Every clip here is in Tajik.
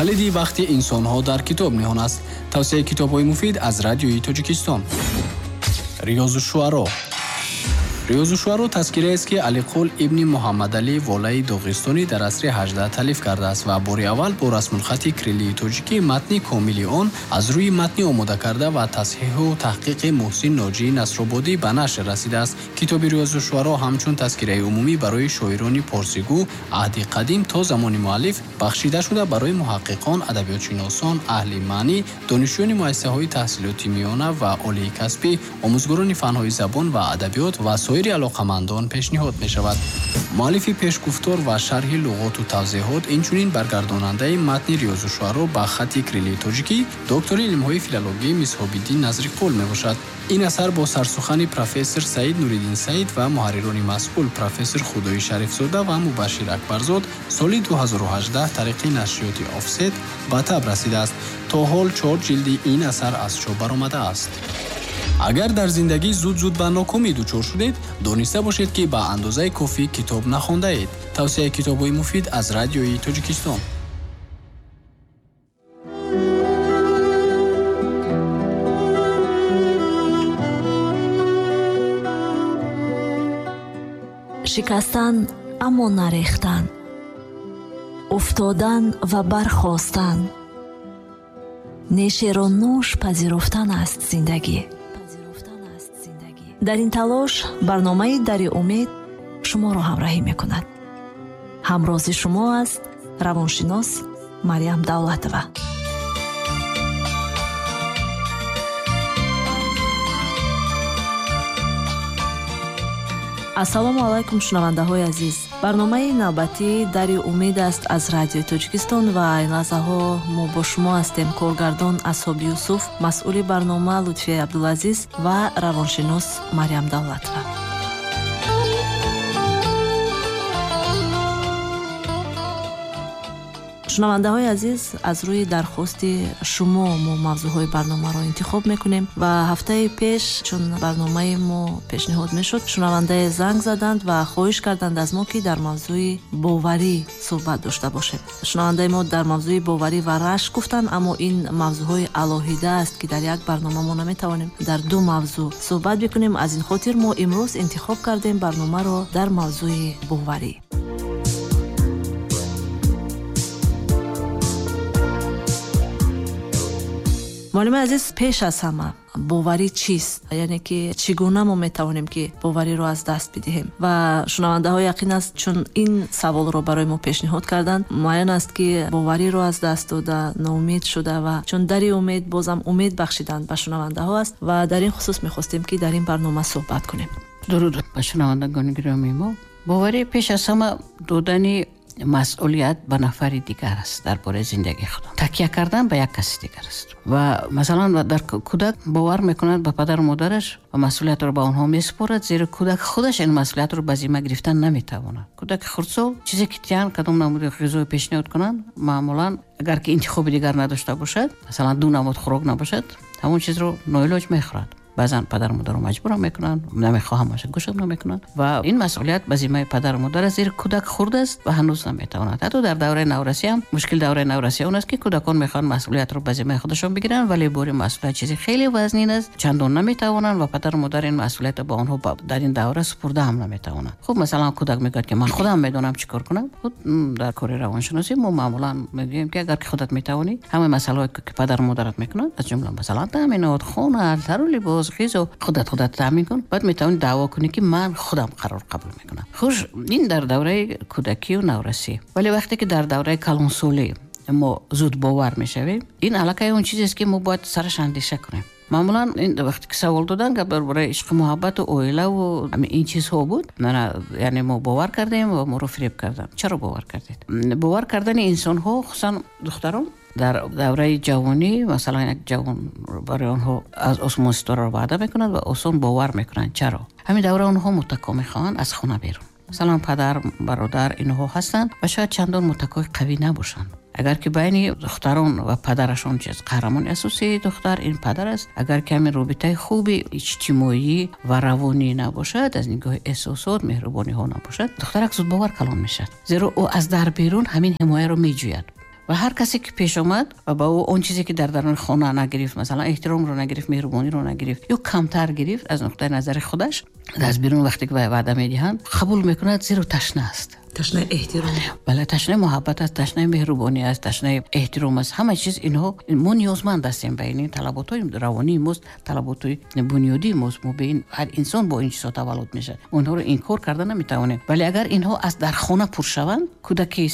Калиди бахти инсонҳо дар китоб ниҳон аст. Тавсияи китобҳои муфид аз Радиои Тоҷикистон. Риёзу шуаро. Риёзу шуаро тазкираест, ки Алиқул ибни Муҳаммадалӣ Волаи Доғистонӣ дар асри 18 таълиф кардааст ва бори аввал бо расмулхати кириллии тоҷикӣ матни комили он аз рӯи матни омода карда ва тасҳиҳу таҳқиқи Муҳсин Ноҷии Насрободӣ ба нашр расидааст. Китоби Риёзу шуаро ҳамчун тазкираи умумӣ барои шоирони порсигӯ аҳди қадим то замони муаллиф бахшида шуда барои муҳаққиқон, адабиётшиносон, аҳли маънӣ, донишҷӯёни муассисаҳои таҳсилоти миёна ва олии касбӣ, омӯзгорони фанҳои забон ва адабиёт ва соири алоқамандон пешниҳод мешавад. Муаллифи пешгуфтор ва шарҳи луғоту тавзеҳот, инчунин баргардонандаи матни Риёзу шуаро ба хати кириллии тоҷикӣ доктори илмҳои филологӣ Мисҳобиддин Назриқул мебошад. Ин асар бо сарсухани профессор Саид Нуриддин Саид ва муҳаррирони масъул профессор Худои Шарифзода ва Мубашшир Акбарзод соли 2018 тариқи нашриёти Офсет ба таб расидааст. То ҳол 4 ҷилди ин асар аз чоп баромадааст. Агар дар зиндагӣ зуд-зуд ба нокомӣ дучор шудед, дониста бошед, ки ба андозаи кофӣ китоб нахондаед. Тавсияи китобҳои муфид аз Радиои Тоҷикистон. Шикастан, аммо нарехтан, уфтодан ва бархостан, нешеро нӯш пазируфтан аст зиндагӣ. Дар ин талош барномаи Дари умед шуморо ҳамроҳӣ мекунад. Ҳамрози шумо аст равоншинос Марьям Давлатова. Ассалому алайкум, шунавандаҳои азиз. Барномаи навбатии Дари умед аст аз Радиои Тоҷикистон ва ин лаҳзаҳо мо бо шумо ҳастем. Коргардон Асҳоб Юсуф, масъули барнома Лутфия Абдулазиз ва равоншинос Марьям Давлатова. Шунавандаҳои азиз, аз рӯи дархости шумо мо мавзӯъҳои барномаро интихоб мекунем ва ҳафтаи пеш чун барномаи мо пешниҳод мешуд, шунавандае занг заданд ва хоҳиш карданд аз мо, ки дар мавзӯи боварӣ суҳбат дошта бошем. Шунавандаи мо дар мавзӯи боварӣ ва рашк гуфтанд, аммо ин мавзӯъҳои алоҳида аст, ки дар як барнома мо наметавонем дар ду мавзӯъ суҳбат бикунем. Аз ин хотир мо имрӯз интихоб кардем барномаро дар мавзӯи боварӣ. Муаллими азиз, пеш аз ҳама боварӣ чист? Яъне ки чӣ гуна мо метавонем, ки бовариро аз даст бидиҳем? Ва шунавандаҳо яқин аст, чун ин саволро барои мо пешниҳод карданд, муайян аст, ки бовариро аз даст дода, ноумед шуда ва чун Дари умед бозам умед бахшиданд ба шунавандаҳо аст ва дар ин хусус мехостем, ки дар ин барнома суҳбат кунем. Дуруд ба шунавандагони гиромии мо. Боварӣ пеш аз ҳама додани масъулият ба нафари дигар аст дар бораи зиндагии худам. Такя кардан ба як каси дигар аст. Ва масалан дар кӯдак бовар мекунад ба падару модараш ва масъулиятро ба онҳо месупорад, зеро кӯдак худаш ин масъулиятро ба зимма гирифтан наметавонад. Кӯдаки хурдсол чизе ки тиҳанд, кадом намуди ғизое пешниҳод кунанд, маъмулан агар ки интихоби дигар надошта бошад, масалан ду намуд хӯрок набошад, ҳамон чизро ноилоҷ мехӯрад. Баъзан падару модарро маҷбурам мекунанд, намехоҳам бошад, гӯшам намекунанд ва ин масъулият ба зиммаи падару модар аст, зеро кӯдак хурд аст ва ҳанӯз наметавонад. Ҳатто дар давраи наврасӣ ҳам мушкил давраи наврасӣ он аст, ки кӯдакон мехоҳанд масъулиятро ба зиммаи худашон бигиранд, вале бори масъулият чизи хеле вазнин аст, чандон наметавонанд ва падару модар ин масъулиятро ба онҳо дар ин давра супурда ҳам наметавонанд. Хуб, масалан кӯдак мегӯяд, ки ман худам медонам чӣ кор кунам. Худ дар кори равоншиносӣ мо маъмулан мегӯем, ки агар ки худат метавонӣ, ҳамаи масъалаҳое ки падару модарат мекунанд, аз ҷумла масалан таъминот, хона, тару либос, ғизо, худат таъмин кун, баъд метавонӣ даъво кунӣ, ки ман худам қарор қабул мекунам. Хуш, ин дар давраи кӯдакию наврасӣ. Вале вақте ки дар давраи калонсолӣ мо зуд бовар мешавем, ин аллакай он чизест, ки мо бояд сараш андеша кунем. Маъмулан ин вақте ки савол додан, гап дар бораи ишқу муҳаббату оилаву ин чизҳо буд. Яъне мо бовар кардем ва моро фиреб карданд. Чаро бовар кардед? Бовар кардани инсонҳо, хусусан духтарон, дар давраи ҷавонӣ, масалан як ҷавон барои онҳо аз осмон ситораро ваъда мекунад ва осон бовар мекунанд. Чаро? Ҳамин давра онҳо муттако мехоҳанд аз хона берун. Масалан падар, бародар инҳо ҳастанд ва шояд чандон муттакои қавӣ набошанд. Агар ки байни духтарон ва падарашон чиз қаҳрамони асосии духтар ин падар аст, агар ки ҳамин робитаи хуби иҷтимоӣ ва равонӣ набошад, аз нигоҳи эҳсосот, меҳрубониҳо набошад, духтарак зудбовар калон мешавад, зеро ӯ аз дар берун ҳамин ҳимояро меҷӯяд. Ва ҳар касе ки пеш омад ва ба ӯ он чизе ки дар даруни хона нагирифт, масалан эҳтиромро нагирифт, меҳрубониро нагирифт ё камтар гирифт аз нуқтаи назари худаш, аз берун вақте ки ваъда медиҳанд қабул мекунад, зеро ташна аст. Ташнаи эҳтиром. Бале, ташнаи муҳаббат аст, ташнаи меҳрубонӣ аст, ташнаи эҳтиром аст. Ҳама чиз инҳо мо ниёзманд ҳастем ба ин талаботҳои равонии мост, талаботҳои бунёдии мост. Мо ба ин ҳар инсон бо ин чизҳо таваллуд мешавад. Онҳоро инкор карда наметавонем. Вале агар инҳо аз дар хона пур шаванд, кӯдаки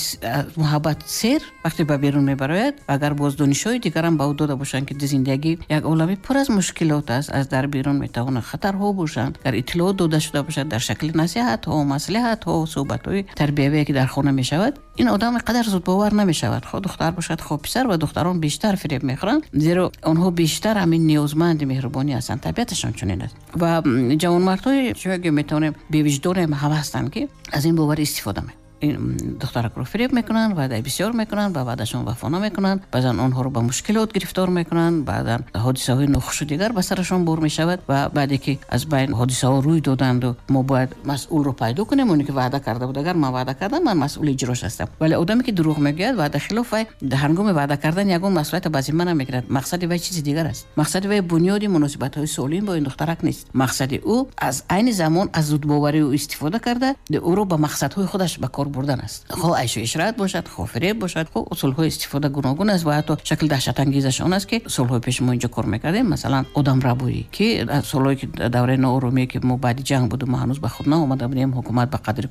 муҳаббат сер вақте ба берун мебарояд, агар боз донишҳои дигарам ба ӯ дода бошанд, ки зиндагӣ як олами пур аз мушкилот аст, аз дар берун метавонанд хатарҳо бошанд, агар иттилоот дода шуда бошад дар шакли насиҳатҳо, маслиҳатҳо, суҳбатҳои тарбиявие ки дар хона мешавад, ин одам қадар зудбовар намешавад. Хоҳ духтар бошад, хоҳ писар, ва духтарон бештар фиреб мехӯранд, зеро онҳо бештар ҳамин ниёзманди меҳрубонӣ ҳастанд, табиаташон чунин аст. Ва ҷавонмардҳои чунки метавонем бевиҷдонем ҳам ҳастанд, ки аз ин бовар истифода мекунанд. Ин духтаракро фиреб мекунанд, ваъдаи бисёр мекунанд, ба ваъдашон вафо намекунанд, баъзан онҳоро ба мушкилот гирифтор мекунанд, баъдан ҳодисаҳои нохушу дигар ба сарашон бор мешавад. Ва баъде ки аз байн ҳодисаҳо рӯй доданду мо бояд масъулро пайдо кунем, оне ки ваъда карда буд. Агар ман ваъда кардам, ман масъули иҷрош ҳастам. Вале одаме ки дурӯғ мегӯяд, ваъда хилоф, вай ҳангоми ваъда кардан ягон масъулиятро ба зимма намегирад. Мақсади вай чизи дигар аст. Мақсади вай бунёди муносибатҳои солим бо ин духтарак нест. Мақсади ӯ аз айни замон аз зудбоварии ӯ истифода карда, ӯро ба мақсадҳои худаш ба кор бурдан аст. Хоҳ айшу ишрат бошад, хоҳ фиреб бошад, хоҳ усулҳои истифода гуногун аст. Ва ҳатто шакли даҳшатангезаш он аст, ки солҳои пеш мо инҷо кор мекардем, масалан одамрабоӣ, ки солҳое ки давраи нооромие ки мо баъди ҷанг буду, мо ҳанӯз ба худ наомада будем, ҳукумат ба қадри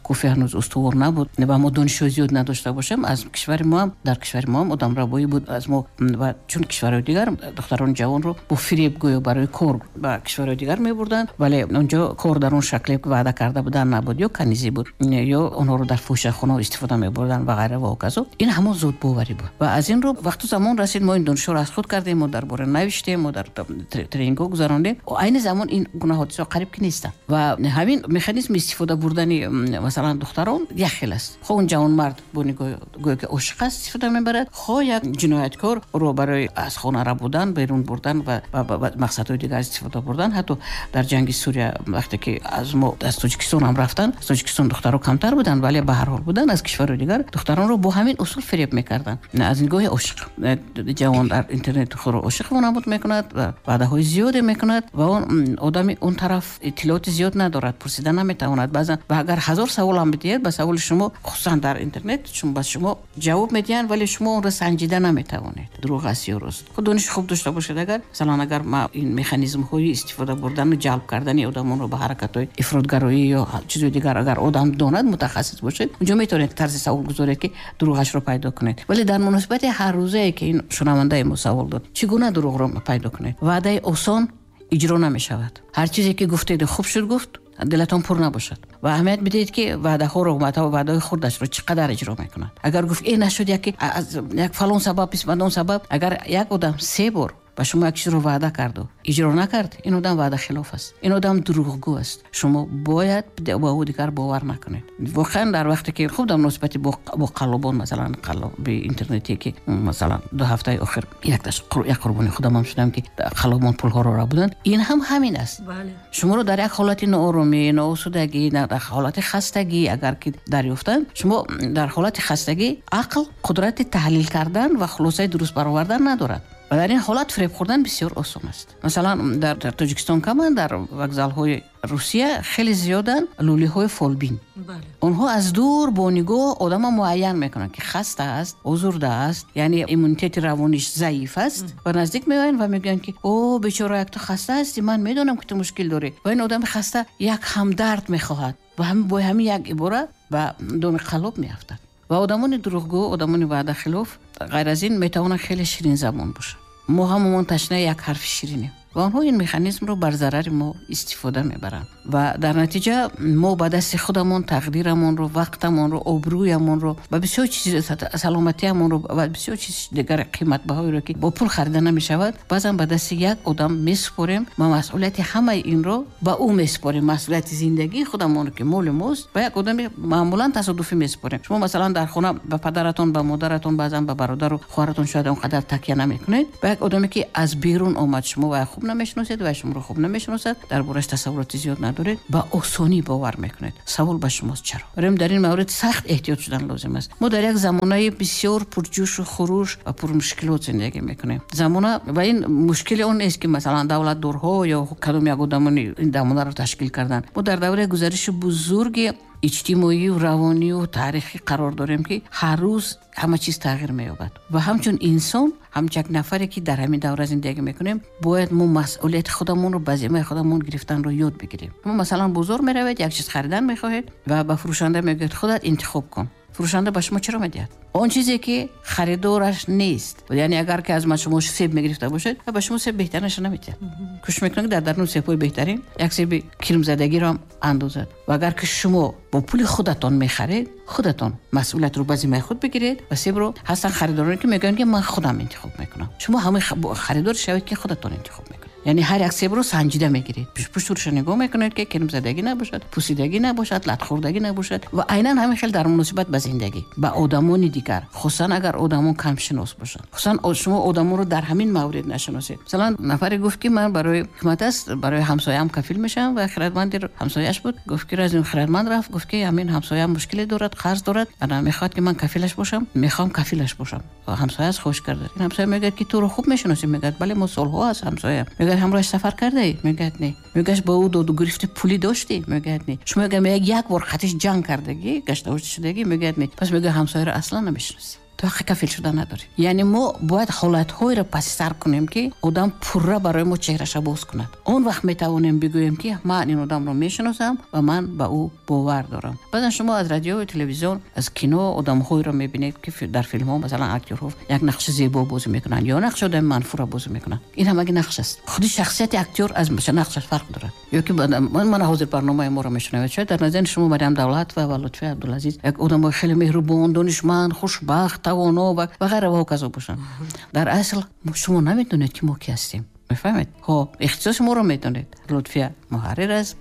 кофӣ ҳанӯз устувор набуд ва мо донишҳои зиёд надошта бошем, аз кишвари мо ҳам, дар кишвари мо ҳам одамрабоӣ буд. Аз мо ва чун кишварҳои дигар духтарони ҷавонро бо фиреб гӯё барои кор ба кишварҳои дигар мебурданд, вале онҷо кор дар он шакле ки ваъда карда буданд набуд, ё канизӣ буд, ё онҳоро дар фоҳишахонаҳо истифода мебурданд ва ғайра ва ҳоказо. Ин ҳамон зудбоварӣ буд. Ва аз ин рӯ вақту замон расид, мо ин донишҳоро аз худ кардем, мо дар бора навиштем, мо дар тренингҳо гузарондем. Айни замон ин гуна ҳодисаҳо қариб ки нестанд. Ва ҳамин механизми истифода бурдани масалан духтарон як хел аст. Хоҳ он ҷавонмард бо нигоҳ гӯё ки ошиқ аст истифода мебарад, хоҳ як ҷинояткор ӯро барои аз хона рабудан, берун бурдан ва мақсадҳои дигар истифода бурдан. Ҳатто дар ҷанги Сурия вақте ки аз мо аз Тоҷикистон ҳам рафтанд, аз Тоҷикистон духтарон камтар буданд, вале ба ҳар ҳол буданд. Аз кишварҳои дигар духтаронро бо ҳамин усул фиреб мекарданд. Аз нигоҳи ошиқ. Ҷавон дар интернет худро ошиқ вонамуд мекунад ва ваъдаҳои зиёде мекунад ва он одами он тараф иттилооти зиёд надорад, пурсида наметавонад. Баъзан ва агар 1000 савол ҳам бидиҳед, ба саволи шумо хусусан дар интернет ба шумо ҷавоб медиҳанд, вале шумо онро санҷида наметавонед, дурӯғ аст ё рост. Худ дониши хуб дошта бошед. Агар масалан агар ма ин механизмҳои истифода бурдану ҷалб кардани одамонро ба ҳаракатҳои ифротгароӣ ё чизҳои дигар агар одам донад, мутахассис бошед, унҷо метавонед тарзи савол гузоред, ки дурӯғашро пайдо кунед. Вале дар муносибати ҳаррӯзае ки ин шунавандаи мо савол дод, чӣ гуна дурӯғро пайдо кунед? Ваъдаи осон иҷро намешавад. Ҳар чизе ки гуфтед хуб шуд гуфт, дилатон пур набошад. Ва аҳамият бидиҳед, ки ваъдаҳоро, ваъдаҳои хурдашро чӣ қадар иҷро мекунад. Агар гуфт нашуд, яке аз як фалон сабаб, бисмадон сабаб, агар як одам 3 бор ба шумо як чизро ваъда карду иҷро накард, ин одам ваъдахилоф аст, ин одам дурӯғгӯ аст. Шумо бояд ба ӯ дигар бовар накунед. Воқеан дар вақте ки хуб дар муносибати бо қаллобон, масалан қаллоби интернетие ки масалан 2 ҳафтаи охир як қурбони худам ҳам шудам, ки қаллобон пулҳоро рабуданд, ин ҳам ҳамин аст. Шуморо дар як ҳолати нооромӣ, ноосудагӣ, дар ҳолати хастагӣ агар ки дарёфтанд, шумо дар ҳолати хастагӣ ақл қудрати таҳлил кардан ва хулосаи дуруст баровардан надорад. Ва дар ин ҳолат фиреб хӯрдан бисёр осон аст. Масалан дар Тоҷикистон каманд, дар вокзалҳои Русия хеле зиёданд лӯлиҳои фолбин. Онҳо аз дур бо нигоҳ одама муайян мекунанд, ки хаста аст, озурда аст, яъне иммунитети равониш заиф аст, ва наздик меоянд ва мегӯянд, ки о бечора, як ту хаста ҳастӣ, ман медонам, ки ту мушкил дорӣ. Ва ин одами хаста як ҳамдард мехоҳад ва бо ҳамин як ибора ба доми қаллоб меафтад. Ва одамони дурӯғгӯ, одамони ваъдахилоф ғайр аз ин метавонанд хеле ширинзабон бошанд. Мо ҳамамон ташнаи як ҳарфи ширинем ва онҳо ин механизмро бар зарари мо истифода мебаранд. Ва дар натиҷа мо ба дасти худамон тақдирамонро, вақтамонро, обрӯямонро ва бисёр чиз, саломатиамонро ва бисёр чиз дигар қиматбаҳоеро, ки бо пул харида намешавад, баъзан ба дасти як одам месупорем ва масъулияти ҳамаи инро ба ӯ месупорем. Масъулияти зиндагии худамонро, ки моли мост, ба як одами маъмулан тасодуфӣ месупорем. Шумо масалан дар хона ба падаратон, ба модаратон, баъзан ба бародару хоҳаратон шояд он қадар такя намекунед. Ба як одаме ки аз берун омад, шумо вай хуб намешиносед ва шуморо хуб намешиносад, дар борааш тасаввуроти зиёд надоред. надоред, ба осонӣ бовар мекунед. Савол ба шумост чаро? Барои дар ин маврид сахт эҳтиёт шудан лозим аст. Мо дар як замонаи бисёр пурҷӯшу хуруш ва пурмушкилот зиндагӣ мекунем. Замона ва ин мушкили он нест, ки масалан давлатдорҳо ё кадом як одамони ин замонаро ташкил карданд. Мо дар давраи гузариши бузурги иҷтимоию равонию таърихӣ қарор дорем, ки ҳар рӯз ҳама чиз тағйир меёбад ва ҳамчун инсон, ҳамчун як нафаре, ки дар ҳамин давра зиндагӣ мекунем, бояд мо масъулияти худамонро ба зиммаи худамон гирифтанро ёд бигирем. Шумо масалан бозор меравед, як чиз харидан мехоҳед ва ба фурӯшанда мегӯед: худат интихоб кун. Фурӯшанда ба шумо чаро медиҳад он чизе, ки харидораш нест? Яъне агар ки аз ман шумо себ мегирифта бошед, ба шумо себ беҳтаринашро намедиҳад. Кӯшиш мекунад, ки дар даруни себҳои беҳтарин як себи кирмзадагиро ҳам андозад. Ва агар ки шумо бо пули худатон мехаред, худатон масъулиятро ба зиммаи худ бигиред ва себро. Ҳастанд харидороне, ки мегӯянд, ки ман худам интихоб мекунам. Шумо ҳамаи харидор шавед, ки худатон интихоб мекунед. Яъне ҳар як себро санҷида мегиред, пуштурша нигоҳ мекунед, ки кирмзадагӣ набошад, пусидагӣ набошад, латхӯрдагӣ набошад. Ва айнан ҳамин хел дар муносибат ба зиндагӣ, ба одамони дигар, хусусан агар одамон камшинос бошанд, хусусан шумо одамонро дар ҳамин маврид нашиносед. Масалан, нафаре гуфт, ки ман барои ҳикмат аст, барои ҳамсояам кафил мешавам. Ва хирадманди ҳамсояаш буд. Гуфт, ки аз ин хирадманд рафт, гуфт, ки ҳамин ҳамсояам мушкиле дорад, қарз дорад, ана мехоҳад, ки ман кафилаш бошам, мехоҳам кафилаш бошам. Ва ҳамсояаш хуш карда. Ин ҳамсоя мегӯяд, ки туро хуб мешиносӣ? Мегӯяд: бале, мо солҳо аст ҳамсоя. Мегӯяд: ҳамроҳаш сафар кардаӣ? Мегӯяд: не. Мегӯяд: бо ӯ доду гирифти пулӣ доштӣ? Мегӯяд: не. Шумо мегӯяд, як бор хатиш ҷанг кардагӣ, гаштавошта шудагӣ? Мегӯяд: не. Пас, мегӯяд, ҳамсояро аслан намешиносӣ, ту ҳаққи кафил шуда надорӣ. Яъне мо бояд ҳолатҳоеро паси сар кунем, ки одам пурра барои мо чеҳраша боз кунад. Он вақт метавонем бигӯем, ки ман ин одамро мешиносам ва ман ба ӯ бовар дорам. Баъзан шумо аз радиою телевизион, аз кино одамҳоеро мебинед, ки дар филмҳо масалан актёрҳо як нақши зебо бозӣ мекунанд ё нақши одами манфурро бозӣ мекунанд. Ин ҳамаги нақш аст. Худи шахсияти актёр аз нақшаш фарқ дорад. Ё ки мана ҳозир барномаи моро мешунавед, шояд дар назари шумо Мариям Давлатова ва Лутфия Абдулазиз як одамои хеле меҳрубон, донишманд, хушбахт, тавоно ва ғайра ва ҳоказо бошанд. Дар асл шумо намедонед, ки мо ки ҳастем, мефаҳмед? Ҳо, ихтисоси моро медонед: Лутфия муҳаррир аст,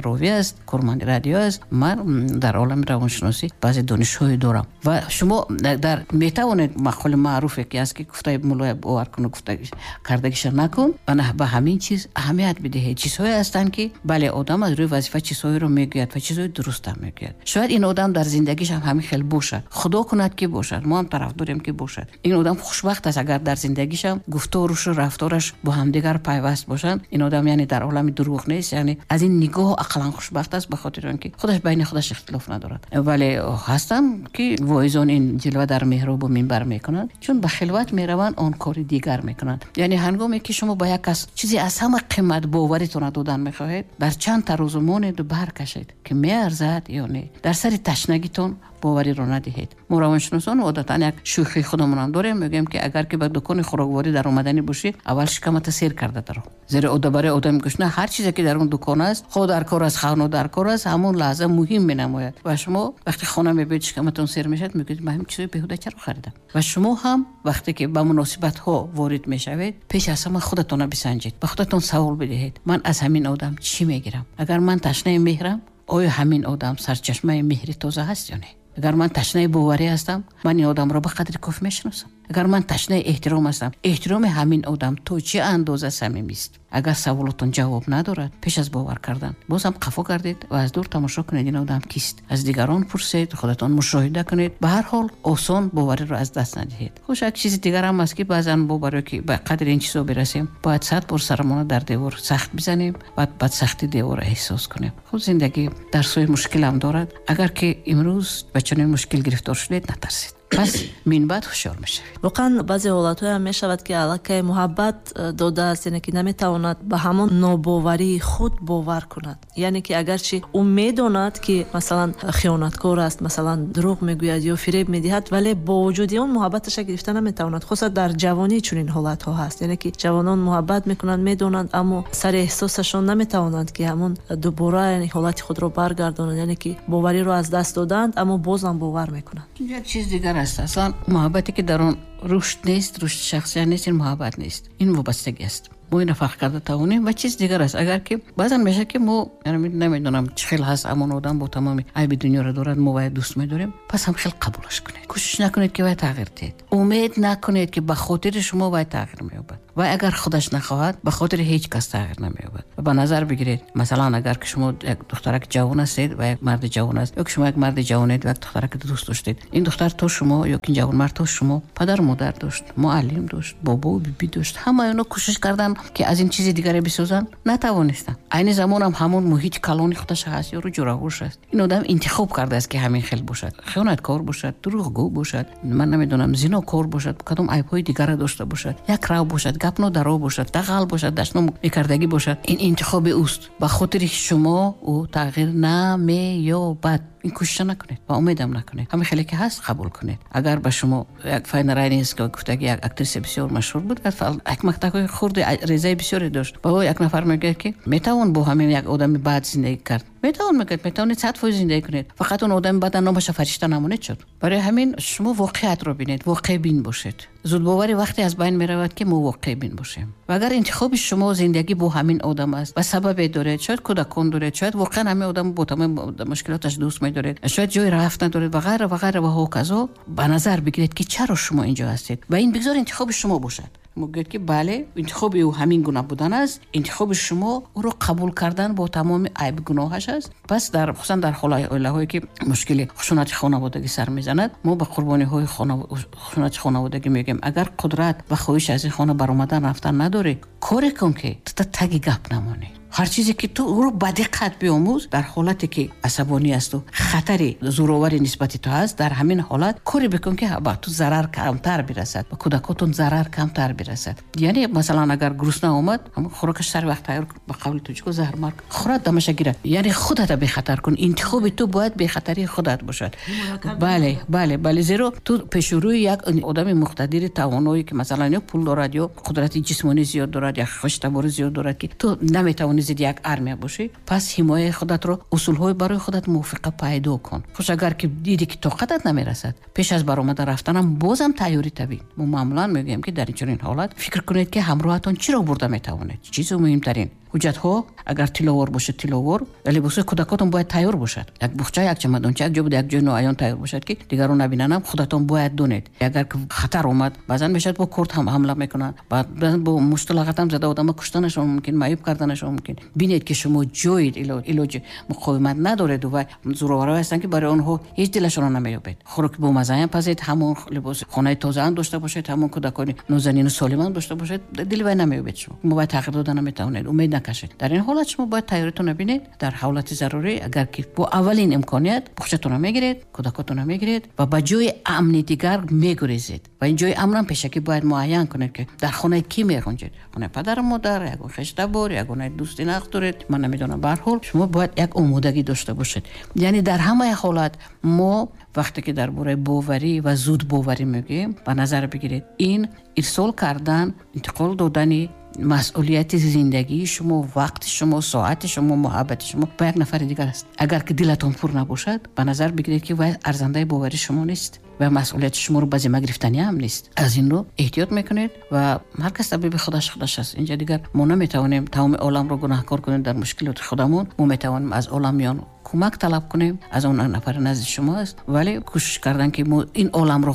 ровӣ аст, корманди радио аст, ман дар олами равоншиносӣ баъзе донишҳое дорам. Ва шумо дар метавонед мақоли маъруфе, ки аст, ки гуфтаи муллоя бовар куну гуфта кардагиша накун, ба ҳамин чиз аҳамият бидиҳед. Чизҳое ҳастанд, ки бале, одам аз рӯи вазифа чизҳоеро мегӯяд ва чизҳои дурустам мегӯяд. Шояд ин одам дар зиндагиш ҳам ҳамин хел бошад. Худо кунад, ки бошад, мо ҳам тарафдорем, ки бошад. Ин одам хушбахт аст, агар дар зиндагишам гуфторушу рафтораш бо ҳамдигар пайваст бошанд. Ин одам яъне дар олами дурӯғ нест, яъне аз ин нигоҳ ақаллан хушбахт аст, ба хотири он ки худаш байни худаш ихтилоф надорад. Вале ҳастанд, ки воизон ин ҷилва дар меҳробу минбар мекунанд, чун ба хилват мераванд, он кори дигар мекунанд. Яъне ҳангоме ки шумо ба як кас чизе аз ҳама қимат боваритонро додан мехоҳед, дар чанд тарозу монеду баркашед, ки меарзад ё не. Дар сари ташнагитон бовариро надиҳед. Мо равоншиносон одатан як шӯхии худамонам дорем, мегӯем, ки агар ки ба дукони хӯрокворӣ даромаданӣ бошӣ, аввал шикамата сер карда даро, зеро барои одами гушна ҳар чизе, ки дар он дукон аст, хо дар кор аст, хо дар кор аст, ҳамон лаҳза муҳим менамояд. Ва шумо вақте хона мебиёед, шикаматон сер мешавад, мегӯед: ман ҳамин чизои беҳуда чаро харидам? Ва шумо ҳам вақте ки ба муносибатҳо ворид мешавед, пеш аз ҳама худатонро бисанҷед, ба худатон савол бидиҳед: ман аз ҳамин одам чӣ мегирам? Агар ман ташнаи меҳрам, оё ҳамин одам сарчашмаи меҳри тоза ҳаст ё не? Агар ман ташнаи боварӣ ҳастам, ман ин одамро ба қадри кофӣ мешиносам? Агар ман ташнаи эҳтиром ҳастам, эҳтироми ҳамин одам то чӣ андоза самимист? Агар саволотон ҷавоб надорад, пеш аз бовар кардан боз ҳам қафо гардед ва аз дур тамошо кунед, ин одам кист. Аз дигарон пурсед, худатон мушоҳида кунед. Ба ҳар ҳол осон бовариро аз даст надиҳед. Хуш, як чизи дигарам аст, ки баъзан мо барое ки ба қадри ин чизо бирасем, бояд 100 бор сарамона дар девор сахт бизанем, баъд бад сахти деворро эҳсос кунем. Худ зиндагӣ дарсҳои мушкилам дорад. Агар ки имрӯз ба чунин мушкил гирифтор шудед, натарсед, пас минбаъд ҳушёр мешавед. Воқеан, баъзе ҳолатҳоям мешавад, ки аллакай муҳаббат додааст, яъне ки наметавонад ба ҳамон нобоварии худ бовар кунад. Яъне ки агарчи ӯ медонад, ки масалан хиёнаткор аст, масалан дурӯғ мегӯяд ё фиреб медиҳад, вале бо вуҷуди он муҳаббаташа гирифта наметавонад. Хусусан дар ҷавонӣ чунин ҳолатҳо ҳаст, яъне ки ҷавонон муҳаббат мекунанд, медонанд, аммо сари эҳсосашон наметавонанд, ки ҳамон дубора яъне ҳолати худро баргардонанд, яъне ки бовариро аз даст доданд, аммо бозам бовар мекунанд. Як чиз дигар аст. Аслан муҳаббате, ки дар он рушд нест, рушди шахсия нест, ин муҳаббат нест, ин вобастагӣ аст. Мо ина фарқ карда тавонем ва чиз дигар аст. Агар ки баъзан мешавад ки мо намедонам чӣ хел ҳаст, амон одам бо тамоми айби дунёро дорад, мо вай дӯст медорем, пас ҳам хел қабулаш кунед. Кӯшиш накунед ки вай тағйир диҳед. Умед накунед ки ба хотири шумо вай тағйир меёбад. Вай агар худаш нахоҳад, ба хотири ҳеҷ кас тағйир намеёбад. Ва ба назар бигиред, масалан агар ки шумо як духтараки ҷавон ҳастед ва як марди ҷавон аст, ё ки шумо як марди ҷавонед ва як духтараки дӯст доштед, ин духтар то шумо ё ин ҷавонмард то шумо падару модар дошт, муаллим дошт, бобову биби дошт, ҳамаи онҳо кӯшиш карданд ки аз ин чизи дигаре бисозанд, натавонистанд. Айни замонам ҳамон муҳити калони худаш ҳаст, ёру ҷураҳош аст. Ин одам интихоб кардааст ки ҳамин хел бошад, хиёнаткор бошад, дурӯғгӯ бошад, ман намедонам, зинокор бошад, кадом айбҳои дигарро дошта бошад, якрав бошад, гапнодаро бошад, дағал бошад, дашном мекардагӣ бошад. Ин интихоби ӯст. Ба хотири шумо ӯ тағйир намеёбад. Ин кӯшиша накунед ва умедам накунед. Ҳамин хеле ки ҳаст қабул кунед. Агар ба шумо як Файна Райнинская гуфтаги як актриса бисёр машҳур буд, як мактабҳои хурди резаи бисёре дошт. Ба ӯ як нафар мегӯяд ки метавон бо ҳамин як одами бад зиндагӣ кард. Метавон, мегӯяд, метавонед 100% зиндагӣ кунед. Фақат он одами бад номаша фаришта намонед шуд. Барои ҳамин шумо воқеиятро бинед, воқеъбин бошед. Зудбоварӣ вақте аз байн меравад ки мо воқеъбин бошем. Ва агар интихоби шумо зиндагӣ бо ҳамин одам аст ва сабабе доред, шояд кӯдакон доред, шояд воқеан ҳамин одам бо тамоми мушкилоташ дӯст медоред, шояд ҷои рафт надоред ва ғайра ва ғайра ва ҳоказо, ба назар бигиред ки чаро шумо инҷо ҳастед ва ин бигзор интихоби шумо бошад. Мегӯяд ки бале, интихоби ӯ ҳамин гуна будан аст, интихоби шумо ӯро қабул кардан бо тамоми айб гуноҳаш аст. Пас дар хусусан дар оилаҳое ки мушкили хушунати хонаводагӣ сар мезанад, мо ба қурбониҳои хушунати хонаводагӣ мегӯем агар қудрат ва хоҳиш аз ин хона баромадан рафтан надорӣ, коре кун ки ту таги гап намонӣ. Ҳар чизе ки ту ӯро ба диққат биомӯз, дар ҳолате ки асабонӣ асту хатари зӯроварӣ нисбати ту ҳаст, дар ҳамин ҳолат коре бикун ки ба ту зарар камтар бирасад, ба кӯдакотон зарар камтар бирасад. Яъне масалан агар гурусна омад, ҳамон хӯрокаш сари вақт тайёр кун, ба қавли тоҷико заҳрмарг хӯрад, дамаша гирад. Яъне худата бехатар кун. Интихоби ту бояд бехатарии худат бошад. Бале, бале, бале, зеро ту пешурӯи як одами муқтадири тавоное ки масалан ё пул дорад, ё қудрати ҷисмонӣ зиёд дорад, ё хештаборӣ зиёд дорад, ки ту наметавонӣ зидди як армия бошӣ, пас ҳимояи худатро, усулҳои барои худат мувофиқа пайдо кун. Хуш агар ки дидӣ ки тоқатат намерасад, пеш аз баромада рафтанам бозам тайёрӣ табин. Мо маъмулан мегӯем ки дар чунин ҳолат фикр кунед ки ҳамроҳатон чиро бурда метавонед. Чизи муҳимтарин ҳуҷҷатҳо, агар тилловор бошад тилловор, ва либосҳои кӯдакотон бояд тайёр бошад. Як буғча, як чамадонча, як ҷо буда, як ҷои ноаён тайёр бошад ки дигарон набинанам, худатон бояд донед. Агар хатар омад, баъзан мешавад бо корт ҳам ҳамла мекунанд, баъзан бо мушту лағатам зада одама куштанашон мумкин, маъюб карданашон мумкин. Бинед ки шумо ҷои илоҷи муқовимат надоред ва зӯроварҳое ҳастанд ки барои онҳо ҳеҷ дилашонро намеёбед. Хӯроки бомаззаам пазед, ҳамон либоси хонаи тозаам дошта бошед, ҳамон кӯдакони нозанину солимам дошта бошед, дили вай намеёбед шумо. Шумо бояд тағйир дода наметавонед, умед накашед. Дар ин ҳолат шумо бояд тайёритонро бинед. Дар ҳолати зарурӣ агар ки бо аввалин имконият буғчатонро мегиред, кӯдакотонро мегиред ва ба ҷои амни дигар мегурезед. Ва ин ҷои амнам пешакӣ бояд муайян кунед ки дар хонаи кӣ меғунҷед. Хонаи падару модар, ягон хештабор, ягон дӯсти нағз доред, ман намедонам. Ба ҳар ҳол шумо бояд як омодагӣ дошта бошед. Яъне дар ҳамаи ҳолат мо вақте ки дар бораи боварӣ ва зудбоварӣ мегӯем, ба назар бигиред ин ирсол кардан, интиқол додани масъулияти зиндагии шумо, вақти шумо, соати шумо, муҳаббати шумо ба як нафари дигар аст. Агар ки дилатон пур набошад, ба назар бигиред ки вай арзандаи бовари шумо нест ва масъулияти шуморо ба зимма гирифтанӣ ҳам нест. Аз ин рӯ эҳтиёт мекунед ва ҳар кас табиби худаш худаш аст. Инҷа дигар мо наметавонем тамоми оламро гунаҳкор кунем дар мушкилоти худамон. Мо метавонем аз олам миён кӯмак талаб кунем, аз он нафари назди шумо аст, вале кӯшиш кардан ки мо ин оламро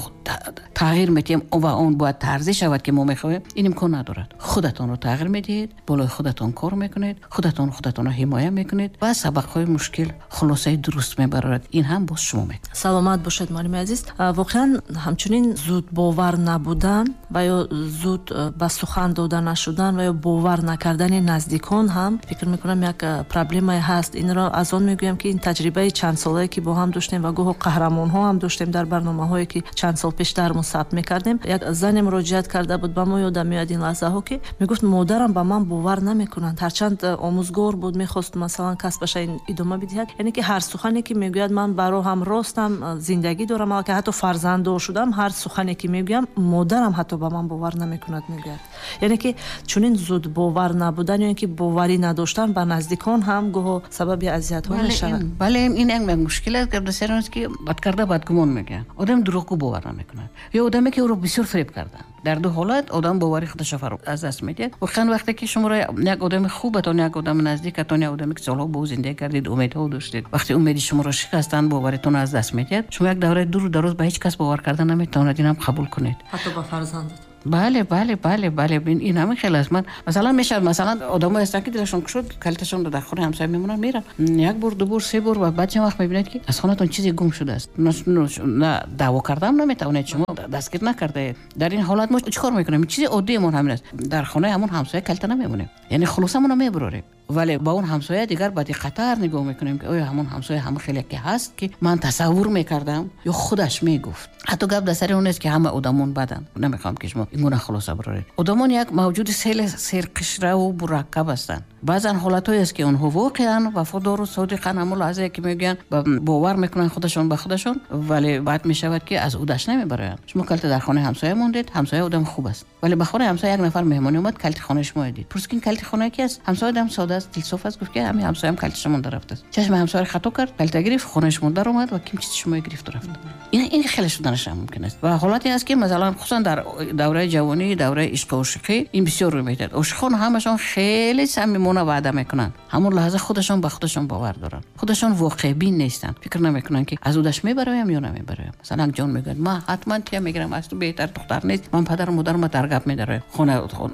тағйир медиҳем ва он бояд тарзе шавад ки мо мехоҳем, ин имкон надорад. Худатонро тағйир медиҳед, болои худатон кор мекунед, худатон худатонро ҳимоя мекунед ва сабақҳои мушкил хулосаи дуруст мебарорад. Ин ҳам боз шумо мекунед. Саломат бошед, муаллими азиз. Воқеан ҳамчунин зуд бовар набудан ва ё зуд ба сухан дода нашудан ва ё бовар накардани наздикон ҳам фикр мекунам як проблемае ҳаст. Инро аз он мегӯям ки ин таҷрибаи чандсолае ки бо ҳам доштем ва гоҳо қаҳрамонҳо ҳам доштем дар барномаҳое ки чанд сол пештар мо сабт мекардем. Як зане муроҷиат карда буд ба мо, ёдам меояд ин лаҳзаҳо, ки мегуфт модарам ба ман бовар намекунанд. Ҳарчанд омӯзгор буд, мехост масалан касбаша идома бидиҳад. Яъне ки ҳар сухане ки мегӯяд ман баро ҳам ростам, зиндагӣ дорам, аллакай ҳатто фарзанддор шудам, ҳар сухане ки мегӯям модарам ҳатто ба ман бовар намекунад, мегӯяд. Яъне ки чунин зуд бовар набудан ё ин ки боварӣ надоштан ба наздикон ҳам гоҳо сабаби азиятҳо мешавад. Бале, ин як мушкил аст, ки бисёр аст ки бадкарда бадгумон мегӯянд. Одам дурӯғгӯ бовар намекунад ё одаме ки ӯро бисёр фиреб карданд. Дар ду ҳолат одам бовари худашро аз даст медиҳад. Воқеан вақте ки шуморо як одами хубатон, як одами наздикатон, як одаме ки солҳо бо ӯ зиндагӣ кардед, умедҳо доштед, вақте умеди шуморо шикастанд, боваритонро аз даст медиҳад, шумо як давраи дуру дароз ба ҳеҷ кас бовар карда наметавонед. Инам қабул кунед, ҳатто ба фарзандатон. Бале, бале, бале, бале, ин ҳамин хел аст. Ман масалан мешавад, масалан одамое ҳастанд, ки дилашон кушод, калиташон дар хонаи ҳамсоя мемонанд, мераванд як бор, ду бор, се бор ва баъд чанд вақт мебинед, ки аз хонатон чизе гум шудааст. На даъво кардаам наметавонед, шумо дастгир накардаед. Дар ин ҳолат мо чӣ кор мекунем? Чизи оддиемон ҳамин аст: дар хонаи ҳамон ҳамсоя калита намемонем, яъне хулосамонро мебурорем, вале ба он ҳамсоя дигар ба диққаттар нигоҳ мекунем, ки оё ҳамон ҳамсоя ҳама хеле ки ҳаст, ки ман тасаввур мекардам, ё худаш мегуфт. Ҳатто гап дар сари он нест, ки ҳама одамон баданд. Намехоҳам, ки шумо ин гуна хулоса бароред. Одамон як мавҷуди хеле серқишраву мураккаб ҳастанд. Баъзан ҳолатҳое аст, ки онҳо воқеан вафодору содиқан, ҳамон лаҳзае ки мегӯянд, бовар мекунанд худашон ба худашон, вале баъд мешавад, ки аз ӯдаш намебароянд. Шумо калита дар хонаи ҳамсоя мондед, ҳамсоя одам хуб аст, вале ба хонаи ҳамсоя як нафар меҳмонӣ омад, калити хонаи шумо дид. Пурсид, ки ин калити хонаи ки аст? Ҳамсоя одам сода аст, дилсоф аст, гуфт, ки ҳамин ҳамсоям калиташа монда рафтааст. Чашми ҳамсояро хато кард, калита гирифт, хонаи шумо даромад ва ким чизи шумо гирифту рафт. Ин хеле шуданаш ҳам мумкин аст. Ва ҳолате аст, ки масалан хусусан дар давраи ҷавонӣ, давраи ишқу ошиқӣ ин бисёр рӯй медиҳад. Ошиқон ҳамашон хеле самимона ваъда мекунанд, ҳамон лаҳза худашон ба худашон бовар доранд, худашон воқеъбин нестанд, фикр намекунанд, ки аз ӯдаш мебароям ё намебароям. Масалан, як ҷон мегӯяд: ман ҳатман тия мегирам, аз ту беҳтар духтар нест, ман падару модарама дар гап медароям.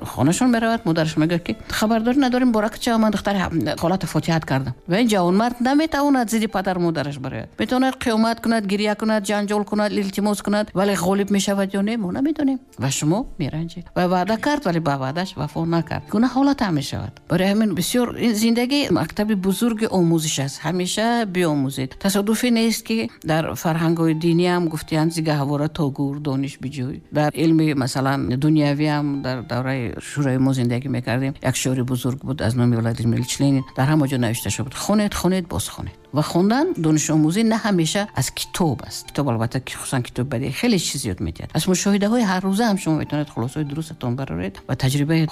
Хонашон меравад, модараш мегӯяд, ки хабардорӣ надорем, боракча, ман духтари холата фотиҳат кардам. Ва ин ҷавонмард наметавонад зидди падару модараш барояд. Метавонад қиёмат кунад, гиря кунад, ҷанҷол кунад, илтимос кунад, вале ғолиб мешавад ё не, мо намедонем. Ва шумо меранҷед. Ва ваъда кард, вале ба ваъдаш вафо накард. Гуна ҳолат ҳам мешавад. Барои ҳамин бисёр ин зиндагӣ мактаби бузурги омӯзиш аст. Ҳамеша биомӯзед. Тасодуфӣ нест, ки дар фарҳангҳои диниам гуфтиянд: зи гаҳвора то гӯр дониш биҷӯй. Дар илми масалан дунявиам, дар давраи шӯрои мо зиндагӣ мекардем, як шеъри бузург буд аз номи Владимир Ильич Ленин, дар ҳама ҷо навишта шуда буд: хонед, хонед, боз хонед. Ва хондан, донишомӯзӣ на ҳамеша аз китоб аст. Китоб албатта, хусусан китоби бадеӣ, хеле чиз зиёд медиҳад. Аз мушоҳидаҳои ҳаррӯза ҳам шумо метавонед хулосаҳои дурустатон бароред ва таҷрибаи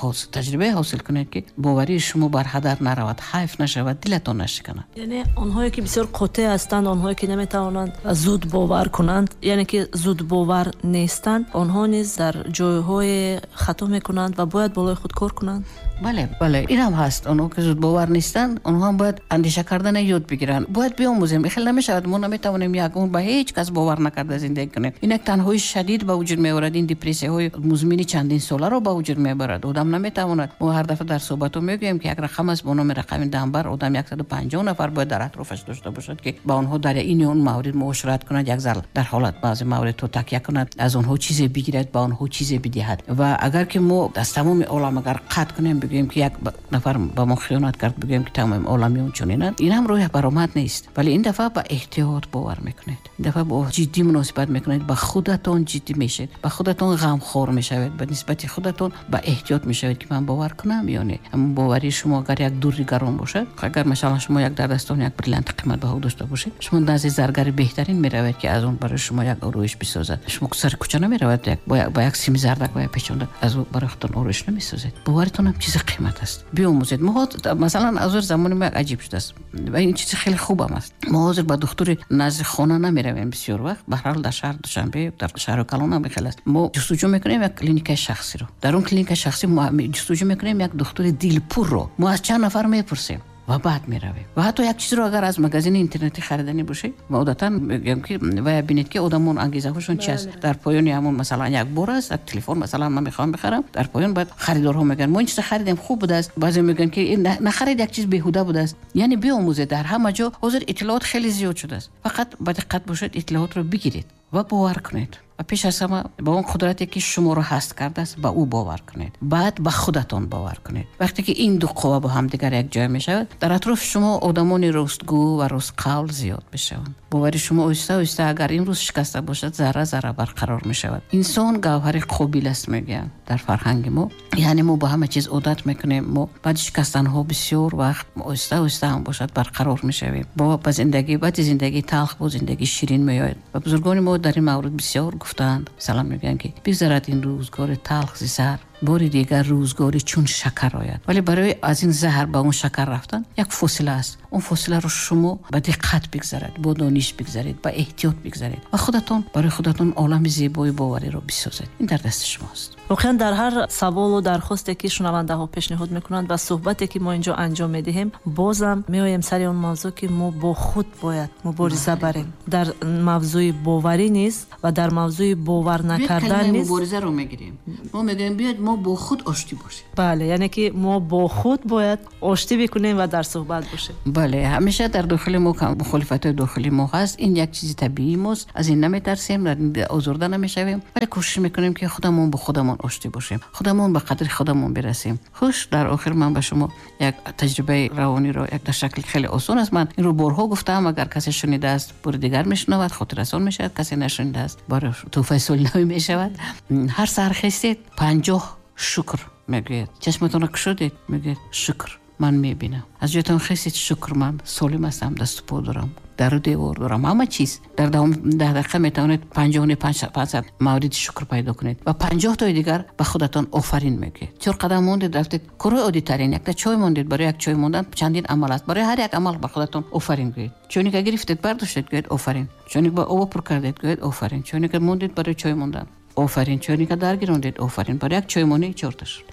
ҳосил кунед, ки боварии шумо бар ҳадар наравад, ҳайф нашавад, дилатон нашиканад. Яъне онҳое ки бисёр қотеъ ҳастанд, онҳое ки наметавонанд зуд бовар кунанд, яъне ки зудбовар нестанд, онҳо низ дар ҷойҳое хато мекунанд ва бояд болои худ кор кунанд. Бале, бале, инам ҳаст. Онҳо ки зудбовар нестанд, онҳо ҳам бояд андеша кардана ёд бигиранд, бояд биомӯзем. Хеле намешавад, мо наметавонем як умр ба ҳеҷ кас бовар накарда зиндагӣ кунем. Ин як танҳои шадид ба вуҷуд меорад, ин депрессияҳои музмини чандин соларо ба вуҷуд меорад. Одам наметавонад. Мо ҳар дафъа дар суҳбатҳо мегӯем, ки як рақам аст бо номи рақами дамбар. Одам 150 нафар бояд дар атрофаш дошта бошад, ки ба онҳо дар ин ё он маврид муошират кунад, як зар дар ҳолат баъзе мавридҳо такя кунад, аз онҳо чизе бигирад, ба онҳо чизе бидиҳад. Ва агар ки мо аз тамоми олам агар қатъ кунем, бигӯем, ки як нафар ба мо хиёнат кард, бигӯем, ки тамоми олам чунинанд, ин ҳам роҳи баромад нест. Вале ин дафъа ба эҳтиёт бовар мекунед, ин дафъа бо ҷиддӣ муносибат мекунед, ба худатон ҷиддӣ мешавед, ба худатон ғамхор мешавед, ба нисбати худатон ба эҳтиёт мешавед, ки ман бовар кунам ё не. Ҳамон боварии шумо агар як дурри гарон бошад, агар масалан шумо як дар дастон як бриллианти қиматбаҳо дошта бошед, шумо назди заргари беҳтарин меравед, ки аз он барои шумо як ороиш бисозад. Шумо сари кӯча намеравед, ба як сими зардак ва як печонда аз ӯ барои худтон ороиш намесозед. Боваритон ҳам чизи қимат аст, биомӯзед. Мо масалан аз замони мо як аҷиб шудааст ва ин чизи хеле хубам аст: мо ҳозир ба духтури назди хона намеравем бисёр вақт. Ба ҳар ҳол дар шаҳр Душанбе, дар шаҳри калон ҳам хеле аст. Мо ҷустуҷӯ мекунем як клиникаи шахсиро, дар он клиникаи шахсӣ мо ҷустуҷӯ мекунем як духтури дилпурро. Мо аз чанд нафар мепурсем ва баъд меравем. Ва ҳатто як чизро агар аз магазини интернетӣ хариданӣ бошед, ма одатан мегӯям, ки вая бинед, ки одамон ангезаҳошон чи аст. Дар поёни ҳамон масалан як бор аст, як телефон масалан ман мехоҳам бихарам, дар поён баъд харидорҳо мегӯянд: мо ин чиза харидем, хуб будааст. Баъзе мегӯянд, ки нахаред, як чиз беҳуда будааст. Яъне биомӯзед. Дар ҳама ҷо ҳозир иттилоот хеле зиёд шудааст. Фақат ба диққат бошед, иттилоотро бигиред ва бовар кунед. Ва пеш аз ҳама ба он қудрате, ки шуморо ҳаст кардааст, ба ӯ бовар кунед, баъд ба худатон бовар кунед. Вақте ки ин ду қувва бо ҳамдигар якҷоя мешавад, дар атрофи шумо одамони ростгӯ ва ростқавл зиёд мешаванд. Бовари шумо оҳиста оҳиста, агар имрӯз шикаста бошад, зарра зарра барқарор мешавад. Инсон гавҳари қобил аст, мегӯянд дар фарҳанги мо. Яъне мо ба ҳама чиз одат мекунем. Мо баъди шикастанҳо бисёр вақт оҳиста оҳиста ҳам бошад барқарор мешавем. Бо ба зиндагӣ, баъди зиндагии талх бо зиндагии ширин меояд. Ва бузургони мо дар ин маврид бисёр гуфтаанд. Масалан, мегӯянд, ки бигзарад ин рӯзгори талх зи сар. Бори дигар рӯзгори чун шакар ояд. Вале барои аз ин заҳр ба он шакар рафтан як фосила аст. Он фосиларо шумо ба диққат бигзаред, бо дониш бигзаред, ба эҳтиёт бигзаред ва худатон барои худатон олами зебои бовариро бисозед. Ин дар дасти шумост. Воқеан дар ҳар саволу дархосте ки шунавандаҳо пешниҳод мекунанд ва суҳбате ки мо инҷо анҷом медиҳем, бозам меоем сари он мавзӯъ ки мо бо худ бояд мубориза барем. Дар мавзӯи боварӣ низ ва дар мавзӯи бовар накардан низ муборизаро мегирем. Мо мегӯем биёед мо бо худ оштӣ бошем. Бале, яъне ки мо бо худ бояд оштӣ бикунем ва дар суҳбат бошем. Бале, ҳамеша дар дохили мо мухолифатҳои дохили мо ҳаст. Ин як чизи табиии мост. Аз ин наметарсем, озурда намешавем, вале кӯшиш мекунем ки худамон бо худамон оштӣ бошем, худамон ба қадри худамон бирасем. Хуш, дар охир ман ба шумо як таҷрибаи равониро як дар шакли хеле осон аст. Ман инро борҳо гуфтаам, агар касе шунидааст, бори дигар мешунавад, хотиррасон мешавад, касе нашунидааст, барои тӯҳфаи соли нав мешавад. Ҳар саҳар хестед, 50 шукр мегӯяд. Чашматонро кушодед, мегӯяд шукр, ман мебинам. Аз ҷоятон хестед, шукр, ман солим ҳастам, дасту по дорам, дару девор дорам, ҳама чиз. Дар давоми 10 дақиқа метавонед 50 мавриди шукр пайдо кунед ва 50 тои дигар ба худатон офарин мегӯед. 4 қадам мондед, рафтед корҳои оддитарин, якта чой мондед, барои як чой мондан чандин амал аст. Барои ҳар як амал ба худатон офарин гӯед. Чойника гирифтед, бардоштед, гӯед офарин. Чойника об пур кардед, гӯед офарин. Чойника мондед барои чой мондан, офарин. Чойника дар гирондед, офарин. Барои як чоймонӣ 4 шуд.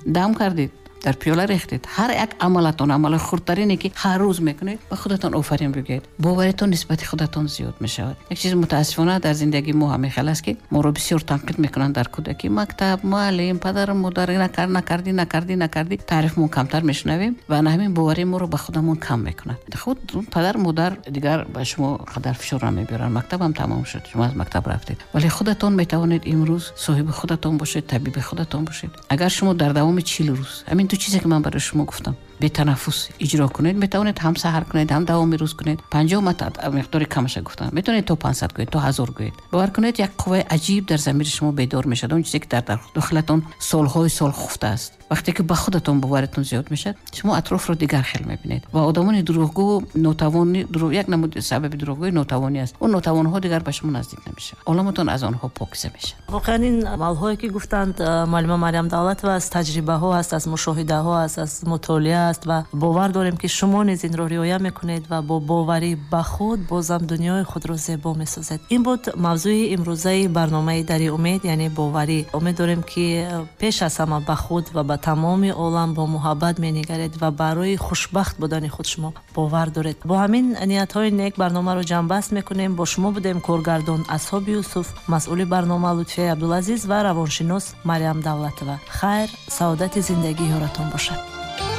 Дам кардед, дар пиёла рехтед. Ҳар як амалатон, амали хурдтарине ки ҳар рӯз мекунед, ба худатон офарин бигӯед. Боваритон нисбати худатон зиёд мешавад. Як чиз мутаассифона дар зиндагии мо ҳамин хел аст ки моро бисёр танқид мекунанд дар кӯдакӣ. Мактаб, муаллим, падару модар, накардӣ, накардӣ, накардӣ. Таърифмон камтар мешунавем ва на ҳамин бовари моро ба худамон кам мекунад. Худ падар, модар дигар ба шумо қадар фишор намебиёранд. Мактабам тамом шуд, шумо аз мактаб рафтед. Вале худатон метавонед имрӯз соҳиби худатон бошед, табиби худатон бошед. Агар шумо дар давоми 40 рӯз ҳамин ду чизе ки ман барои шумо гуфтам бетанаффус иҷро кунед, метавонед ҳам саҳар кунед, ҳам давоми рӯз кунед. 50 миқдори камаша гуфтам, метавонед то 500 гӯед, то 1000 гӯед. Бовар кунед, як қувваи аҷиб дар замири шумо бедор мешавад. Он чизе ки дар дохилатон солҳои сол хуфта аст. Вақте ки ба худатон боваритон зиёд мешавад, шумо атрофро дигар хел мебинед ва одамони дурӯғгӯ, нотавонӣ, як намуди сабаби дурӯғгӯи нотавонӣ аст. Он нотавонҳо дигар ба шумо наздик намешаванд. Оламатон аз онҳо покиза мешавад. Воқеан ин амалҳое ки гуфтанд муаллима Марьям Давлатова аз таҷрибаҳо аст, аз мушоҳидаҳо аст, аз мутолиа аст ва бовар дорем ки шумо низ инро риоя мекунед ва бо боварӣ ба худ бозам дунёи худро зебо месозед. Ин буд мавзӯи имрӯзаи барномаи Дари умед, яъне боварӣ. Умед дорем ки пеш аз ҳама ба худ ва ба тамоми олам бо муҳаббат менигаред ва барои хушбахт будани худ шумо бовар доред. Бо ҳамин ниятҳои нек барномаро ҷамъбаст мекунем. Бо шумо будем коргардон Асҳоб Юсуф, масъули барнома Лутфия Абдулазиз ва равоншинос Марьям Давлатова. Хайр, саодати зиндагӣ ёратон бошад.